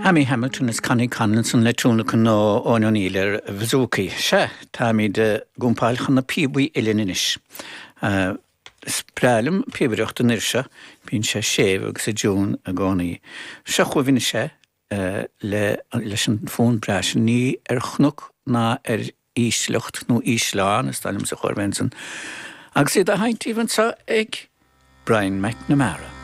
Amy Hamilton is Connie Conlinson le tionlacan ó Eoin O'Neill ar bhazookaí. Sea, táimid ag jumpáil chun na píobaí uilleann anois. Is breá liom píobaireacht an fhir seo, bíonn sé séimh agus i dtiún i gcónaí. Seo chugaibh anois é le leis an fonn breá sin, ní ar chnoc ná ar ísleacht nó ísleán, is dóigh liomsa a chóir a bheith ansan, agus iad á sheinnt daoibh anseo ag Brian McNamara.